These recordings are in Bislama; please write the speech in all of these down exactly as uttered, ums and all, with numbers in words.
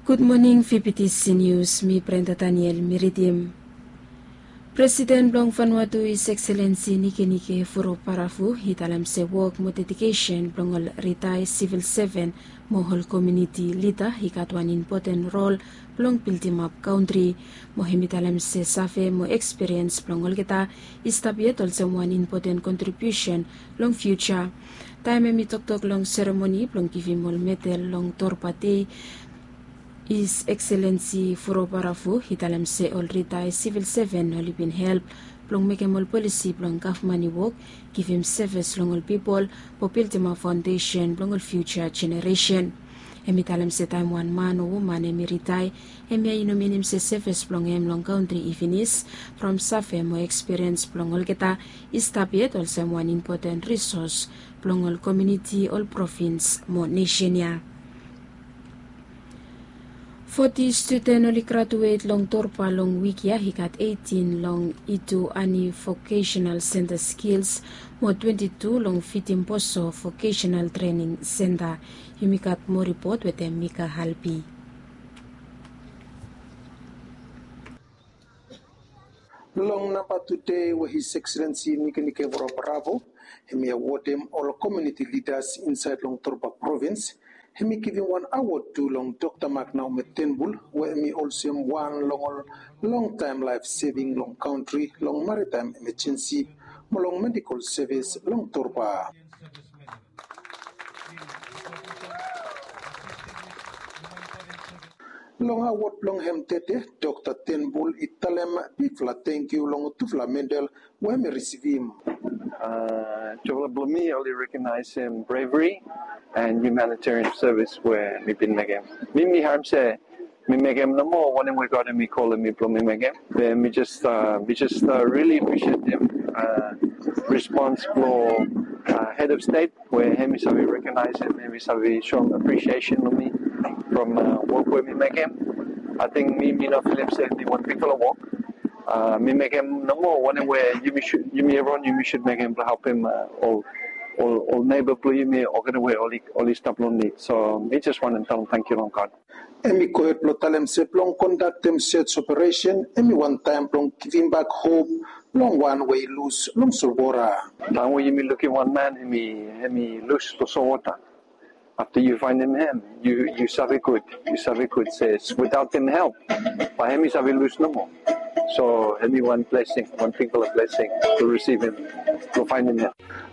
Gud moning, V B T C News, mi Brenda Daniel mi ridim. Presiden blong Vanuatu, His Excellency Nikenike Vurobaravu, i talem se wok mo dedikesen blong ol ritae sivil seven mo ol komuniti lida i gat wan impoten rol blong bildimap kantri. Mo hem i talem se save mo ekspiriens blong olgeta i stap yet olsem wan impoten kontribiusen long fiuja. Taem hem i toktok long seremoni blong givim ol medal long Torba Dei, His Excellency Vurobaravu i talem se ol ritae sivil seven oli bin help blong mekem ol polisi blong gavman i wok, givim sevis long ol pipol, mo bildimap faondesen blong ol fiuja jeneresen. Hem i talem se taem wan man o woman hem i ritae, hemia i no minim se sevis blong hem long kantri i finis. From save mo ekspiriens blong olgeta i stap yet olsem wan impoten risos blong ol komuniti, ol provins mo nesen ya. Foti studen oli graduet long Torba long wik ya, i gat eitin long Itu Ani Vokesenal Senta Skils mo twenti tu long Vitimboso Vokesenal Trening Senta. Yumi gat moa ripot wetem Mika Halbi. Long namba tude we His Excellency Nikenike Vurobaravu hem i awodem ol komuniti lidas insaed long Torba provins, hem i givim wan awod tu long Dokta Mak Naome Tenbul, we hem i olsem wan long ol longtaem laef seving long kantri long maritaem emejensi mo long medikol sevis long Torba. Long awod blong hem tede, Dokta Tenbul i talem bigfala tangkiu long tufala medal we hem i risivim. Tufala blong mi oli rekonaesem brevri and humanitarian sevis we mi bin mekem. Mi mi harem se mi mekem nomo wanem we God hem i kolem mi blong mi mekem. Be mi jes, mi jes rili aprisietem rispons blong hed of stet we hem i save rekonaesem, hem i save soem aprisiesen long mi from wok we mi mekem. Ating mi mi no filim se hem i wan bigfala wok. Mi mekem nomo wanem we yumi sud, yumi evriwan yumi sud mekem blong helpem ol, ol neba blong yumi, olgeta we oli stap long nid. So mi jes wantem talem tangkiu long God. Hem i gohed blong talem se blong kondaktem sej operesen hem i wan taem blong givimbak hop long wan we i lus long solwota. Taem we yumi lukim wan man hem i, hem i lus long solwota, afta yu faenem hem, yu, yu save gud, yu save gud se wetaotem help bae hem i save lus nomo. So hem i wan blesing, wan bigfala blesing blong risivim, blong faenem hem.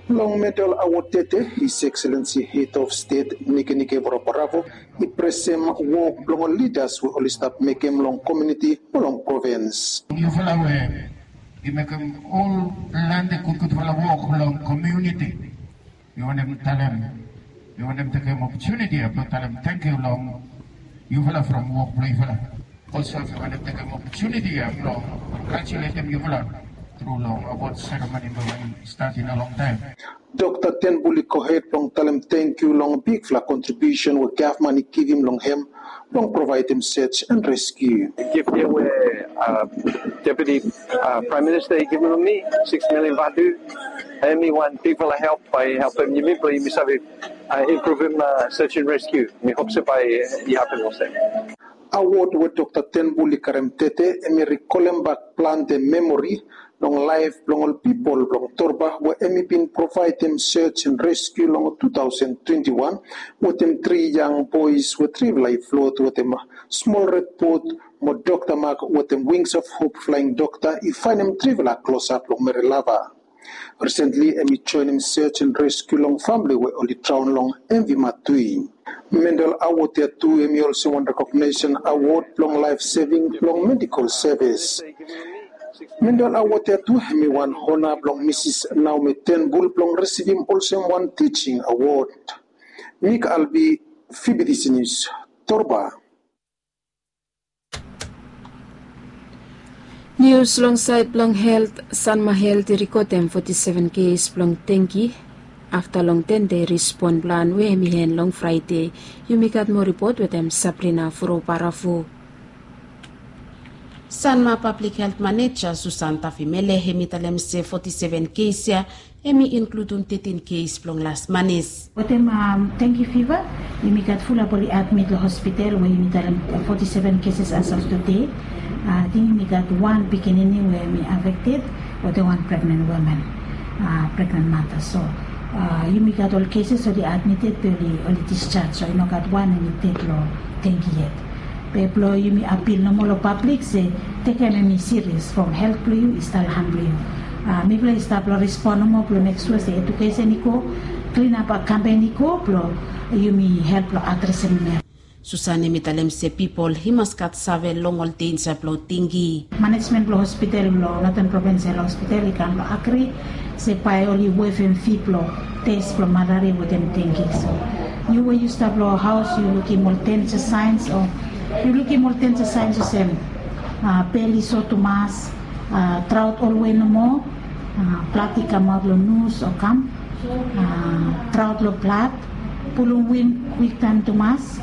Long medal awod tede, His Excellency Hed of Stet Nikenike Vurobaravu i presem wok blong ol lidas we oli stap mekem long komuniti o long provins. Yufala we i mekem ol plante gudgudfala wok long komuniti, mi wantem talem, mi wantem tekem opotuniti ya blong talem tangkiu long yufala from wok blong yufala. Olsem mi wantem tekem opotuniti ya blong kongratuletem yufala tru long awod seremoni we i stat i no longtaem. Dokta Tenbul i gohed blong talem tangkiu long bigfala kontribiusen we gavman i givim long hem blong provaedem sej and reskiu. Gif ya we Deputi Praem Minista i givim long mi, sikis milian vatu, hem i wan bigfala help bae i helpem yumi blong yumi save impruvum sej and reskiu. Mi hop se bae i hapem olsem. Awod we Dokta Tenbul i karem tede hem i rikolembak plante memori long laef blong ol pipol blong Torba we hem i bin provaedem sej and reskiu long tu taosen twenti wan wetem tri yang boes we trifala i flot wetem smol red bot, mo Dokta Mak wetem Wings of Hope flaeng dokta i faenem trifala klosap long Merelava. Risentli hem i joenem sej and reskiu long famle we oli draon long M V Matui. Medal awod ya tu hem i olsem wan rekognesen awod blong laef seving blong medikol sevis. Medal awod ya tu hem i wan ona blong Misis Naome Tenbul blong risivim olsem wan tijing awod. Mik Albi, V B T C Nius, Torba. Nius long saed blong helt, Sanma Helt i rekodem foti seven kes blong dengi afta long ten dei respon plan we hem i en long Fraede. Yumi gat moa ripot wetem Sabrina Furobarafu. Sanma Pablik Helt Maneja Susan Tafimele hem i talem se foti seven kes ya Hemi inkludum tetin kes blong las manis. Wetem dengi fiva, yumi gat fulap oli admit long hospital we yumi talem foti seven keses as of tude. Ating yumi gat wan pikinini we hemi afekted, wetem wan pregnen woman, pregnen mata. So yumi gat ol keses oli admited be oli discharge, so i no gat wan hemi ded long dengi yet. Be blong yumi apil nomo long pablik se tekem hemi serious from helt blong yu i stap long han blong yu. Mifala i stap long respon nomo blong mek sua se edukesen i go, klinap kampen i go blong yumi help long adresem hemia. Susan hemi talem se pipol i mas gat save long ol denja blong dengi. Manejmen blong hospital blong Northern Provincial Hospital i kam blong agri se bae oli wevem fi blong tes blong malaria wetem dengi. So yu we yu stap long haos yu lukim ol denja saens o yu lukim ol denja saens olsem bel i so tumas, traot olwe nomo, blad i kamaot long nus o kam, traot long blad, pulum win kwiktaem tumas,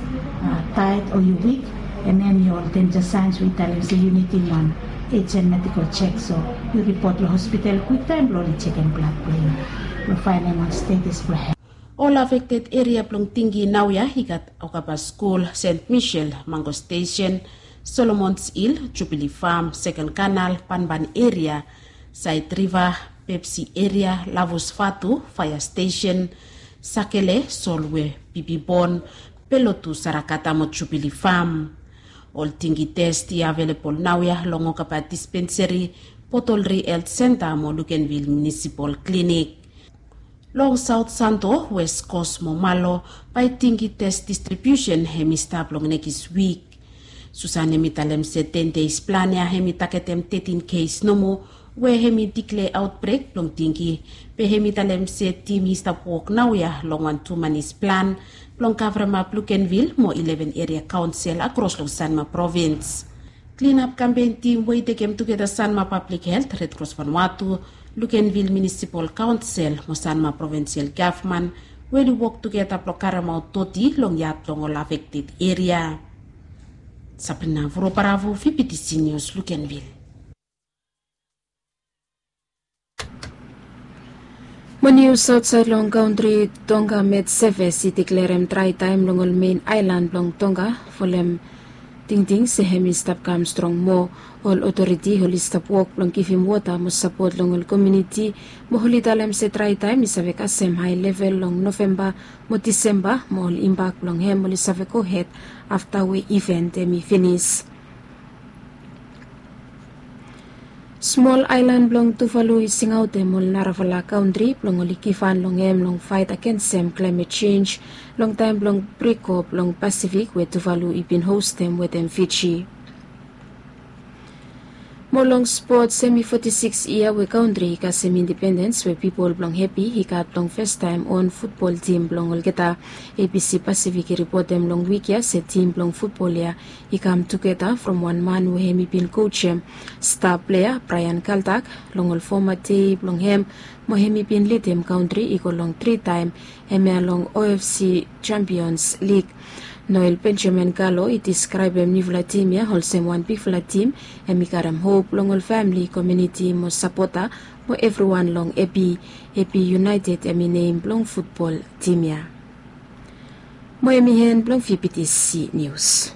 taet o yu wik, and then yu ol denja saens we i talem se yu nidim wan ejen medikol jek, so yu ripot long hospital kwiktaem blong oli jekem blad blong yu blong faenem wan stetes blong hem. Ol afekted eria blong dengi naoia i gat Okaba Skul, Sent Michel, Mango Stesen, Solomons Hil, Jubili Fam, Seken Kanal, Banban eria, Saed Riva, Pepsi eria, Lavus Vatu, Faea Stesen, Sakele, Solwe, Bibibon, Belotu, Sarakata mo Jubili Fam. Ol dengi tes i avelebol naoia long Okaba Dispenseri, Botolri Helt Senta mo Lukenvil Munisipol Klinik. Long Saot Santo, Wes Kos mo Malo, bae dengi tes distribiusen hemi stap long nekis wik. Susan hemi talem se ten deis plan ya hemi tagetem tetin kes nomo we hemi diklea aotbrek blong dengi, be hemi talem se tim i stap wok naoia long wan tu manis plan blong kavremap Lukenvil mo ileven eria kaonsel akros long Sanma provins. Klinap kampen tim we i tekem tugeta Sanma Pablik Helt, Red Cross Vanuatu, Lukenvil Munisipal Kaonsel mo Sanma Provinsial Gavman we oli wok tugeta blong karemaot doti long yat blong ol afekted eria. Sabrina Vuroparavu, V B T C News, Lukenvil. Mo nius aotsaed long kantri, Tonga Met Seves i deklerem draetaem long ol mein aelan blong Tonga folem tingting se hem i stap kam strong moa. Ol otoriti oli stap wok blong givim wota mo sapot long ol komuniti, mo oli talem se draetaem i save kasem hae level long Novemba mo Disemba, mo ol imbak blong hem oli save gohed afta we iven hem i finis. Smol aelan blong Tuvalu i singaotem ol narafala kantri blong oli givhan long hem long faet agensem klaemet jenj long taem blong briko blong Pasifik we Tuvalu i bin hostem wetem Fiji. Mo long spots, hem i foti sikis yia we kantri i kasem indipendens we pipol blong hepi i gat blong fastaem on futbol tim blong olgeta. A B C Pasifik i ripotem long wik ya se tim blong futbol ya i kam tugeta from wan man we hem i bin kojem sta plea Brian Kaldak long ol foma dei blong hem, mo hem i bin lidim kantri i go long tri taem hemia long O F C Champions League. Noel Benjamin Galo i deskraebem niufala tim ya olsem wan bigfala tim, hem i karem hop long ol famili, komuniti mo sapota mo evriwan long Epi. Epi United hem i nem blong futbol tim ya. Mo hem i en blong V B T C Nius.